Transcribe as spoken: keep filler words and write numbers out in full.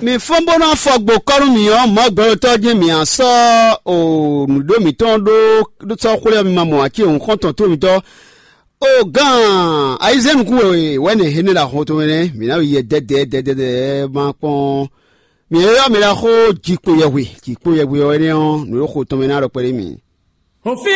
Mi fɔ́n bó ná fɔ gbo kɔ́ nú mì ɔ́, mɔ̌ gbɛɖotɔ́ jɛ́n mǐ á sɔ́ o nǔɖó mǐtɔn ɖó sɔ́ xwlé ɔ́, mi ma mɔ ǎ ce hǔn xɔ́ntɔn tó mitɔn. O gán ayizɛ́n nukún wɛ wɛ nɛ hɛn ne ɖo axɔn tɔn mɛ nɛ́, mǐ ná yi yɛ dɛdɛ dɛdɛ ma kpɔ́n. Mǐ e ylɔ́ mɛ lɛ́ɛ xó jikpo yɛhwe, jikpo yɛhwe ɔ́ énɛ́ ɔ́, nǔ e xo tɔn mɛ ná ɖɔ kpɛɖé mì. Hɔn fí